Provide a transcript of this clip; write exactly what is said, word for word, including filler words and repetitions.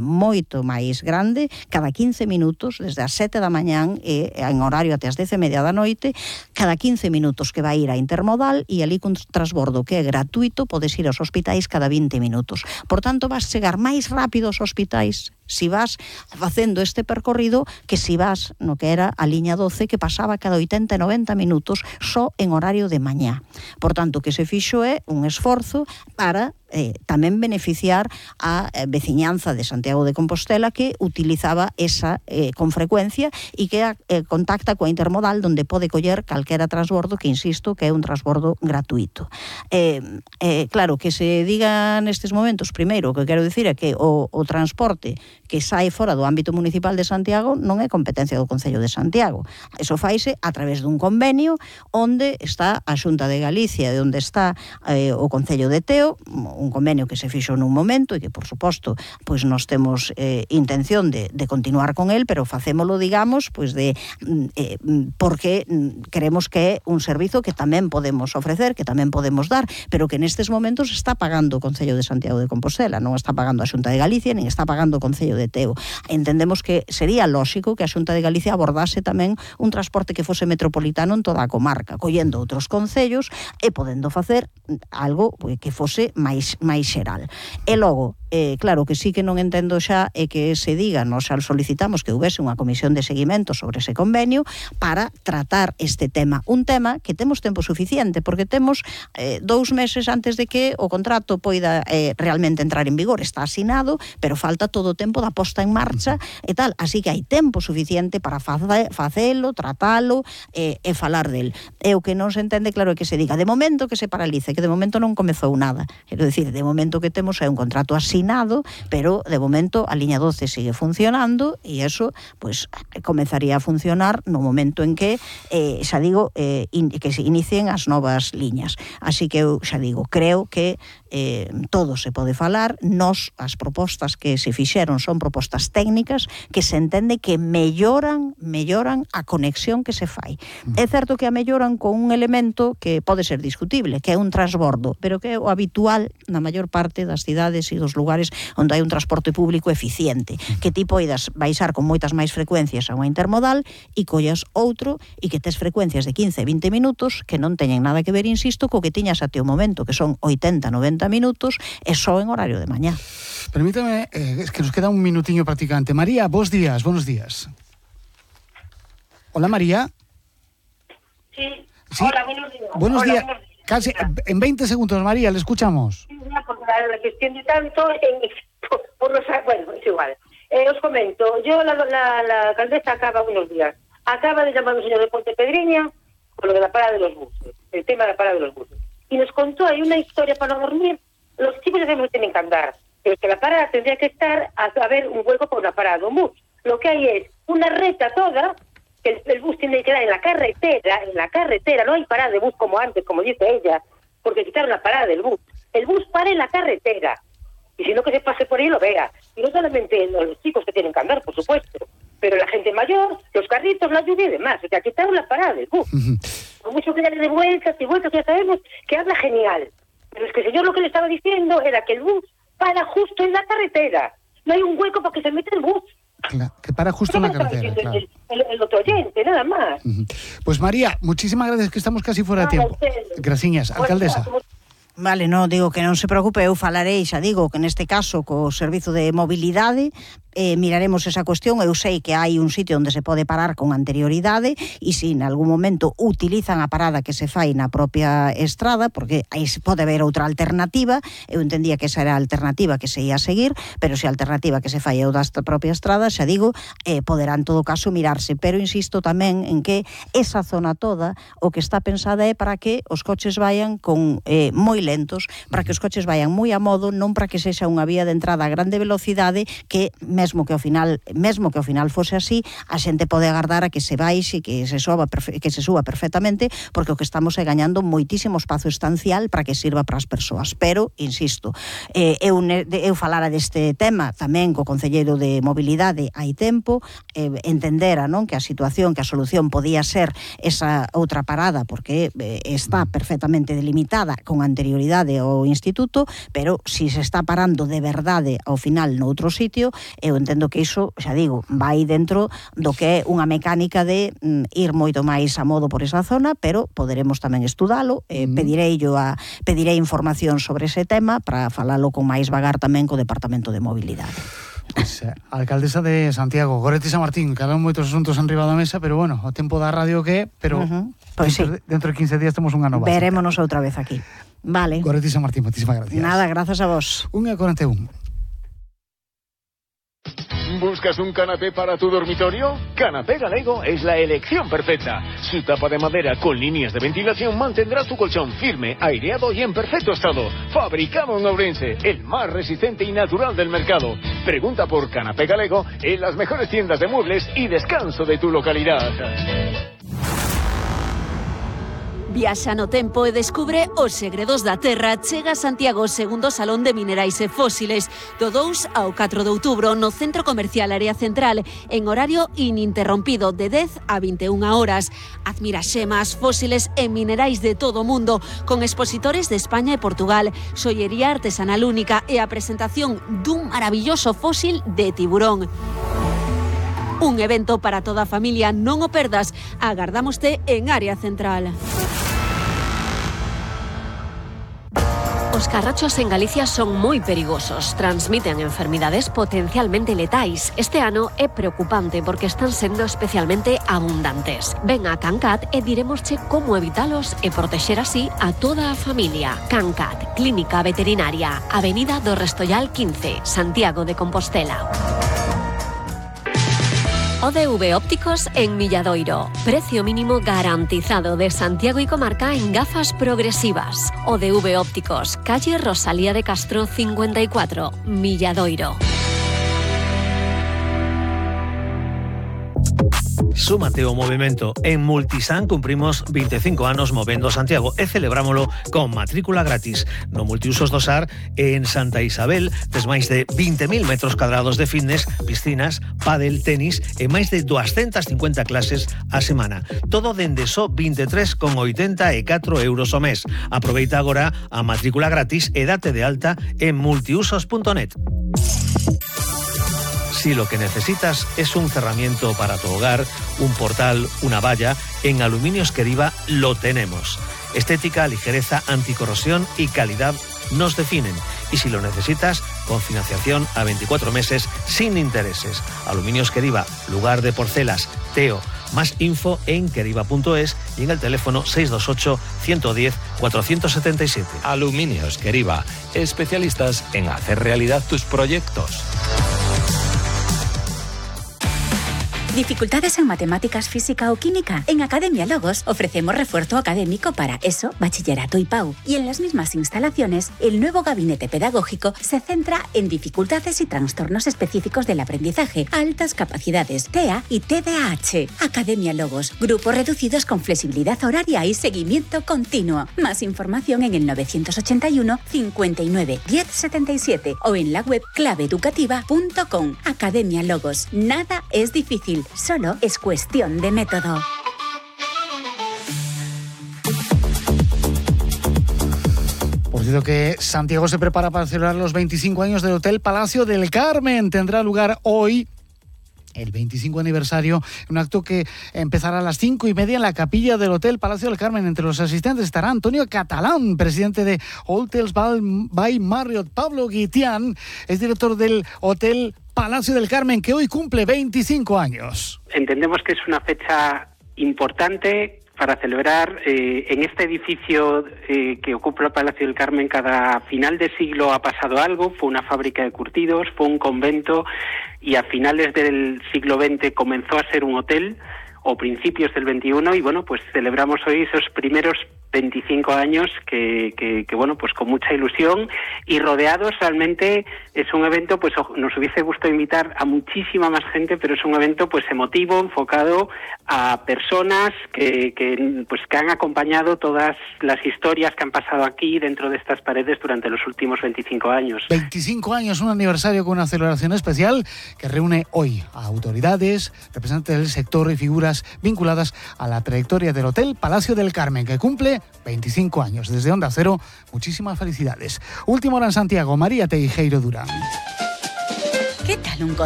moito máis grande, cada quince minutos, desde as sete da mañán e en horario até as dez e media da noite, cada quince minutos que vai ir a intermodal e ali cun transbordo que é gratuito podes ir aos hospitais cada vinte minutos. Por tanto, vas chegar máis rápido aos hospitais si vas facendo este percorrido que si vas no que era a liña doce que pasaba cada oitenta e noventa minutos só en horario de mañá. Por tanto, que se fixo é un esforzo para eh, tamén beneficiar a eh, veciñanza de Santiago de Compostela que utilizaba esa eh, con frecuencia e que eh, contacta coa intermodal donde pode coller calquera transbordo que, insisto, que é un transbordo gratuito. Eh, eh, claro, que se diga nestes momentos, primeiro, o que quero dicir é que o, o transporte que sai fora do ámbito municipal de Santiago non é competencia do Concello de Santiago. Eso faise a través dun convenio onde está a Xunta de Galicia e onde está eh, o Concello de Teo, un convenio que se fixo nun momento e que, por suposto, pois nos temos eh, intención de, de continuar con el, pero facémolo, digamos, pois de eh, porque queremos que é un servizo que tamén podemos ofrecer, que tamén podemos dar, pero que nestes momentos está pagando o Concello de Santiago de Compostela, non está pagando a Xunta de Galicia, nin está pagando o Concello de Teo. Entendemos que sería lóxico que a Xunta de Galicia abordase tamén un transporte que fose metropolitano en toda a comarca, collendo outros concellos e podendo facer algo que fose máis máis xeral. E logo, eh, claro que sí que non entendo xa é que se diga, nos xa solicitamos que houvese unha comisión de seguimento sobre ese convenio para tratar este tema, un tema que temos tempo suficiente, porque temos eh, dous meses antes de que o contrato poida eh, realmente entrar en vigor, está asinado, pero falta todo o tempo da posta en marcha e tal, así que hai tempo suficiente para face, facelo, tratalo eh, e falar del. E o que non se entende, claro, é que se diga de momento que se paralice, que de momento non comezou nada. Quero dicir, de momento que temos é un contrato asinado, pero de momento a liña doce sigue funcionando e eso, pois, comezaría a funcionar no momento en que, eh, xa digo, eh, in, que se inicien as novas liñas. Así que eu xa digo, creo que eh, todo se pode falar, nos, as propostas que se fixeron son propostas técnicas que se entende que melloran, melloran a conexión que se fai. Mm. É certo que a melloran con un elemento que pode ser discutible, que é un transbordo, pero que é o habitual na maior parte das cidades e dos lugares onde hai un transporte público eficiente, que ti poidas baixar con moitas máis frecuencias a unha intermodal e collas outro e que tes frecuencias de quince a vinte minutos que non teñen nada que ver, insisto, co que tiñas até o momento, que son oitenta a noventa minutos e só en horario de mañá. Permítame, eh, es que nos queda un minutiño prácticamente. María, bons días, buenos días. Hola, María. Sí, sí. Hola, buenos días. Buenos Hola, días. buenos días. Casi en veinte segundos, María, le escuchamos. Sí, porque la, la gestión de tanto, en, por, por los, bueno, es igual. Eh, os comento, yo, la, la, la alcaldesa acaba, buenos días, acaba de llamar a un señor de Pontepedriña con lo de la parada de los buses, el tema de la parada de los buses. Y nos contó ahí una historia para no dormir. Los chicos ya sabemos que tienen que andar, pero que la parada tendría que estar a, a ver un hueco por una parada de un bus. Lo que hay es una recta toda, que el, el bus tiene que quedar en la carretera, en la carretera, no hay parada de bus como antes, como dice ella, porque quitaron la parada del bus. El bus para en la carretera, y si no que se pase por ahí y lo vea. Y no solamente los chicos que tienen que andar, por supuesto, pero la gente mayor, los carritos, la lluvia y demás. O sea, quitaron la parada del bus. Uh-huh. Por mucho que darle de vueltas y vueltas, ya sabemos que habla genial. Pero es que el señor lo que le estaba diciendo era que el bus para justo en la carretera. No hay un hueco para que se meta el bus. Claro, que para justo en la carretera, claro. El, el, el otro oyente, nada más. Uh-huh. Pues María, muchísimas gracias, que estamos casi fuera de tiempo. Graciñas, alcaldesa. Vale, non, digo que non se preocupe, eu falarei, xa digo, que neste caso co servizo de mobilidade eh, miraremos esa cuestión. Eu sei que hai un sitio onde se pode parar con anterioridade e se en algún momento utilizan a parada que se fai na propia estrada, porque aí pode haber outra alternativa. Eu entendía que esa era a alternativa que se ia a seguir, pero se a alternativa que se fai é o da propia estrada, xa digo, eh, poderá en todo caso mirarse, pero insisto tamén en que esa zona toda o que está pensada é para que os coches vayan con eh, moi lentos, para que os coches vayan moi a modo, non para que sexa unha vía de entrada a grande velocidade que me mesmo que ao final, mesmo que ao final fose así, a xente pode agardar a que se baixe, que se suba, que se suba perfectamente, porque o que estamos é gañando moitísimo espazo estancial para que sirva para as persoas. Pero, insisto, eh, eu, eu falara deste tema tamén co Concelleiro de Mobilidade hai tempo, eh, entendera, non, que a situación, que a solución podía ser esa outra parada, porque eh, está perfectamente delimitada con anterioridade ao instituto, pero si se está parando de verdade ao final noutro sitio, eu entendo que iso, xa digo, vai dentro do que é unha mecánica de mm, ir moito máis a modo por esa zona, pero poderemos tamén estudalo, eh, mm. pedirei yo a pedirei información sobre ese tema para falalo con máis vagar tamén co Departamento de Mobilidade. Pues, eh, alcaldesa de Santiago, Goretti San Martín, quedan moitos asuntos enriba da mesa, pero bueno, o tempo da radio que é, pero uh-huh. pues dentro, sí. dentro de quince días temos unha nova. Verémonos outra vez aquí. Vale. Goretti San Martín, moitísimas gracias. Nada, grazas a vos. unha e cuarenta e un. ¿Buscas un canapé para tu dormitorio? Canapé Galego es la elección perfecta. Su tapa de madera con líneas de ventilación mantendrá tu colchón firme, aireado y en perfecto estado. Fabricado en Ourense, el más resistente y natural del mercado. Pregunta por Canapé Galego en las mejores tiendas de muebles y descanso de tu localidad. Viaxa no tempo e descubre os segredos da terra. Chega a Santiago segundo Salón de Minerais e Fósiles do dous ao catro de outubro no Centro Comercial Área Central en horario ininterrompido de dez a vinte e unha horas. Admira xemas, fósiles e minerais de todo o mundo con expositores de España e Portugal, xoiería artesanal única e a presentación dun maravilloso fósil de tiburón. Un evento para toda a familia, non o perdas. Agardámoste en Área Central. Os carrachos en Galicia son moi perigosos, transmiten enfermidades potencialmente letais. Este ano é preocupante porque están sendo especialmente abundantes. Ven a Cancat e diremosche como evitalos e protexer así a toda a familia. Cancat, Clínica Veterinaria, Avenida do Restollal quince, Santiago de Compostela. O D V Ópticos en Milladoiro. Precio mínimo garantizado de Santiago y comarca en gafas progresivas. O D V Ópticos, calle Rosalía de Castro cincuenta y cuatro, Milladoiro. Súmate ao movimento. En Multisan cumprimos veinticinco anos movendo Santiago e celebrámolo con matrícula gratis. No Multiusos do Sar en Santa Isabel tes máis de vinte mil metros cadrados de fitness, piscinas, pádel, tenis e máis de doscientas cincuenta clases a semana. Todo dende só vinte e tres con oitenta e catro euros ao mes. Aproveita agora a matrícula gratis e date de alta en multiusos punto net. Si lo que necesitas es un cerramiento para tu hogar, un portal, una valla, en Aluminios Queriva lo tenemos. Estética, ligereza, anticorrosión y calidad nos definen. Y si lo necesitas, con financiación a veinticuatro meses sin intereses. Aluminios Queriva, lugar de porcelas, Teo. Más info en queriva punto es y en el teléfono seis dos ocho, uno uno cero, cuatro siete siete. Aluminios Queriva, especialistas en hacer realidad tus proyectos. ¿Dificultades en matemáticas, física o química? En Academia Logos ofrecemos refuerzo académico para ESO, bachillerato y P A U. Y en las mismas instalaciones, el nuevo gabinete pedagógico se centra en dificultades y trastornos específicos del aprendizaje, altas capacidades, T E A y T D A H. Academia Logos, grupos reducidos con flexibilidad horaria y seguimiento continuo. Más información en el novecientos ochenta y uno, cincuenta y nueve, diez setenta y siete o en la web clave educativa punto com. Academia Logos, nada es difícil. Solo es cuestión de método. Por cierto que Santiago se prepara para celebrar los veinticinco años del Hotel Palacio del Carmen. Tendrá lugar hoy el veinticinco aniversario, un acto que empezará a las cinco y media en la capilla del Hotel Palacio del Carmen. Entre los asistentes estará Antonio Catalán, presidente de Hotels by Marriott. Pablo Guitián es director del Hotel Palacio del Carmen, que hoy cumple veinticinco años. Entendemos que es una fecha importante para celebrar. Eh, en este edificio eh, que ocupa el Palacio del Carmen, cada final de siglo ha pasado algo. Fue una fábrica de curtidos, fue un convento, y a finales del siglo veinte comenzó a ser un hotel, o principios del veintiuno, y bueno, pues celebramos hoy esos primeros veinticinco años que, que, que, bueno, pues con mucha ilusión y rodeados. Realmente es un evento, pues nos hubiese gustado invitar a muchísima más gente, pero es un evento pues emotivo, enfocado a personas que, que, pues, que han acompañado todas las historias que han pasado aquí dentro de estas paredes durante los últimos veinticinco años. veinticinco años, un aniversario con una celebración especial que reúne hoy a autoridades, representantes del sector y figuras vinculadas a la trayectoria del Hotel Palacio del Carmen, que cumple veinticinco años. Desde Onda Cero, muchísimas felicidades. Última hora en Santiago, María Teijeiro Durán. ¿Qué tal un cocido